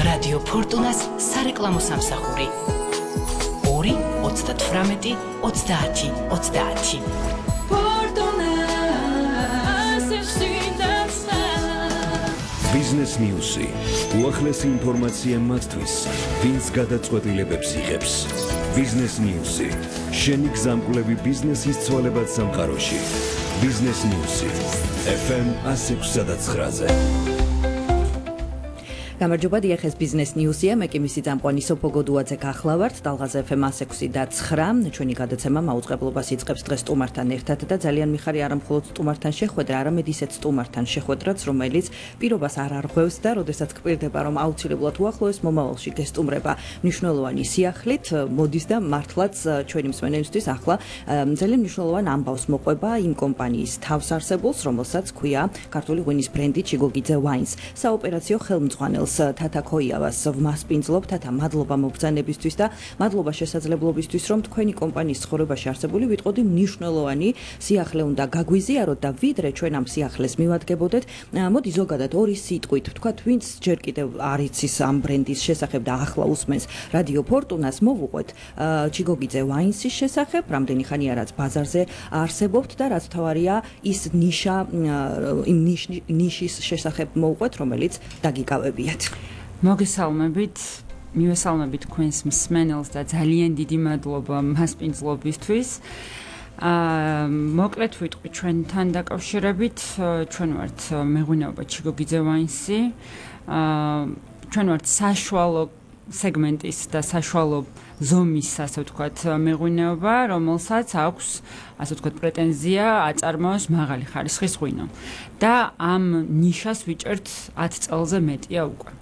რადიო ფორტუნას სარეკლამო სამსახური 2-38-30-30. Business News-ი უახლესი ინფორმაცია მათთვის, ვინც გადაწყვეტილებებს იღებს. Business News-ი შენი გზამკვლევი ბიზნესის ცვალებად სამყაროში. Business News-ი FM 106.9-ზე. გამარჯობა, დიახ, ეს Business News-ია, მე კი მისი წამყვანი სოფო გოდუაძე გახლავართ, ტალღაზე FM 106.9. ჩვენი გადაცემა მაუწყებლობას იწყებს დღეს სტუმართან ერთად და ძალიან მიხარი არა მხოლოდ სტუმართან შეხვედრა, არამედ ისეთ სტუმართან შეხვედრაც, რომელიც პირობას არ არღვევს და როდესაც გპირდება, რომ აუცილებლად უახლოეს მომავალში გესტუმრება მნიშვნელოვანი სიახლით, მოდის და მართლაც ჩვენი მსმენელისთვის ახლა ძალიან მნიშვნელოვან ამბავს მოყვება იმ კომპანიის თავსარსებულს, რომელსაც ქვია ქართული ღვინის ბრენდი ჩიგოგიძე Wines. საოპერაციო ხელმძღვანელ თათა ქოიავას ვმასპინძლობ, თათა, მადლობა მობრძანებისთვის და მადლობა შესაძლებლობისთვის, რომ თქვენი კომპანიის ცხოვრებაში არსებული ვიტყოდი მნიშვნელოვანი სიახლე უნდა გაგვიზიაროთ და ვიდრე ჩვენ ამ სიახლეს მივადგებოდეთ, მოდი ზოგადად ორი სიტყვით ვთქვათ, ვინც ჯერ კიდევ არ იცის ამ ბრენდის შესახებ და ახლა უსმენს რადიო ფორტუნას, მოვუყვეთ ჩიგოგიძე Wines-ის შესახებ, რამდენი ხანია რაც ბაზარზე არსებობთ და რაც თავარია ის ნიშა, იმ ნიშის შესახებ მოვუყვეთ, რომელიც დაგიკავებია. მოგესალმებით, მივესალმებით თქვენს მსმენელს და ძალიან დიდი მადლობა მასპინძლობისთვის. მოკლედ ვიტყვი ჩვენთან დაკავშირებით, ჩვენ ვართ მეღვინეობა ჩიგოგიძე Wines-ი. ჩვენ ვართ საშუალო სეგმენტის და საშუალო ზომის, ასე ვთქვათ, მეღვინეობა, რომელსაც აქვს, ასე ვთქვათ, პრეტენზია აწარმოოს მაღალი ხარისხის ღვინო. და ამ ნიშას ვიჭერთ 10 წელზე მეტია უკვე.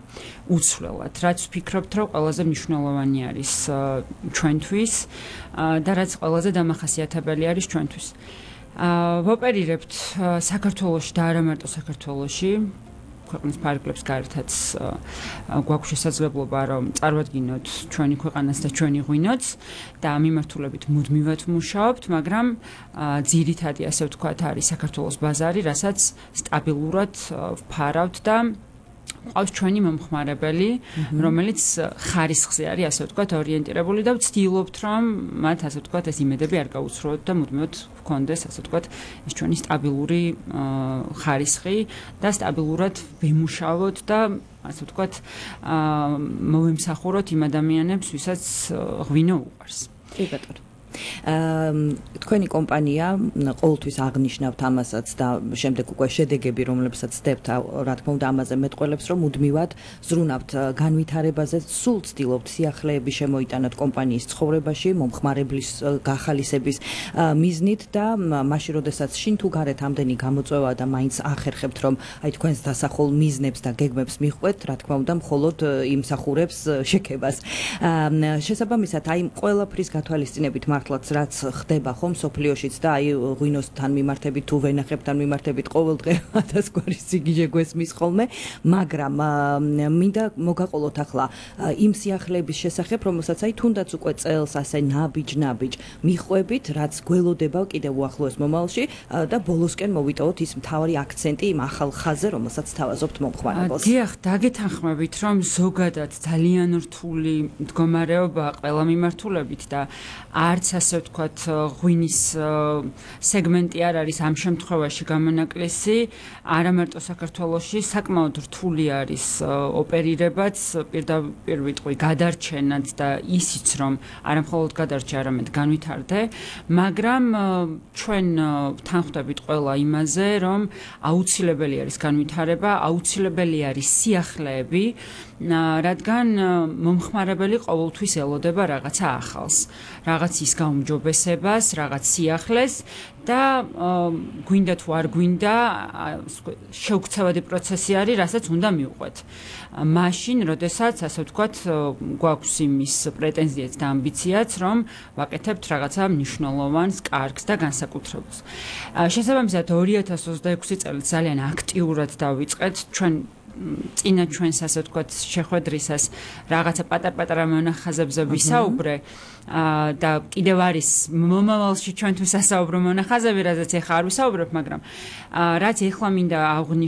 უცვლელად, რაც ვფიქრობთ, რომ ყველაზე მნიშვნელოვანი არის ჩვენთვის და რაც ყველაზე დამახასიათებელი არის ჩვენთვის. ვოპერირებთ საქართველოში და არა მარტო საქართველოში. ქვეყნის ფარგლებს გარეთაც გვაქვს შესაძლებლობა, რომ წარვადგინოთ ჩვენი ქვეყანას და ჩვენი ღვინოც და ამ მიმართულებით მუდმივად ვმუშაობთ, მაგრამ ძირითადი, ასე ვთქვათ, არის საქართველოს ბაზარი, რასაც სტაბილურად ვფარავთ და ყავს ჩვენი მომხმარებელი, რომელიც ხარისხზე არის, ასე ვთქვათ, ორიენტირებული და ვცდილობთ, რომ მათ, ასე ვთქვათ, ეს იმედები არ გაუცრუოთ და მუდმივად ვქონდეს, ასე ვთქვათ, ეს ჩვენი სტაბილური ხარისხი და სტაბილურად ვიმუშაოთ და, ასე ვთქვათ, მოვიმსახუროთ იმ ადამიანებს, ვისაც ღვინო უყვარს. კი ბატონო. თქვენი კომპანია ყოველთვის აღნიშნავთ ამასაც და შემდეგ უკვე შედეგები, რომლებსაც ცდებთ, რა თქმა უნდა, ამაზე მეტყველებს, რომ მუდმივად ზრუნავთ განვითარებაზე, სულ ცდილობთ სიახლეების შემოიტანოთ კომპანიის ცხოვრებაში, მომხმარებლის გახალისების მიზნით და მაშინ, როდესაც შინ თუ გარეთ ამდენი გამოწვევა და მაინც ახერხებთ, რომ აი თქვენს დასახულ მიზნებს და გეგმებს მიხვდეთ, რა თქმა უნდა, მხოლოდ იმსახურებს შეკებას. შესაბამისად, აი ყველაფრის გათვალისწინებით მართლაც რაც ხდება ხომ სოფლიოშიც და აი ღვინოსთან მიმართებით თუ ვენახებთან მიმართებით ყოველდღე 1000 გვარი სიგიჟე გვესმის ხოლმე, მაგრამ მინდა მოგაყოლოთ ახლა იმ სიახლეების შესახებ, რომელსაც აი თუნდაც უკვე წელს ასე ნაბიჯ მიხვებით, რაც გველოდება კიდევ უახლოეს მომავალში და ბოლოსკენ მოვიტოვოთ ის მთავარი აქცენტი იმ ახალ ხაზზე, რომელსაც თავაზობთ მომხმარებელს. დიახ, დაგეთანხმებით, რომ ზოგადად ძალიან რთული მდგომარეობა ყველა მიმართულებით და არც ასე ვთქვათ, ღვინის სეგმენტი არ არის ამ შემთხვევაში გამონაკლისი, არა მარტო საქართველოში, საკმაოდ რთული არის ოპერირებაც, პირდაპირ ვიტყვი გადარჩენაც და ისიც, რომ არა მხოლოდ გადარჩე, არამედ განვითარდე, მაგრამ ჩვენ ვთანხმდებით ყველა იმაზე, რომ აუცილებელი არის განვითარება, აუცილებელი არის სიახლეები, რადგან მომხმარებელი ყოველთვის ელოდება რაღაცა ახალს, რაღაც ის გაუმჯობესებას, რაღაც სიახლეს და გვინდა თუ არ გვინდა, შეუქცევადი პროცესი არის, რასაც უნდა მივყვეთ. მაშინ, როდესაც, ასე ვთქვათ, გვაქვს იმის პრეტენზიაც და ამბიციაც, რომ ვაკეთებთ რაღაცა მნიშვნელოვანს, კარგს და განსაკუთრებულს. შესაბამისად, 2026 წელი ძალიან აქტიურად დავიწყეთ ჩვენ წინა ჩვენს, ასე ვთქვათ, შეხვედრისას რაღაცა პატარ-პატარა მონახაზებზე ვისაუბრე და კიდევ არის მომავალში ჩვენთვის ასაუბრო მონახაზები, რაზეც ეხლა არ ვისაუბრებ, მაგრამ რაც ეხლა მინდა აღვნიშნო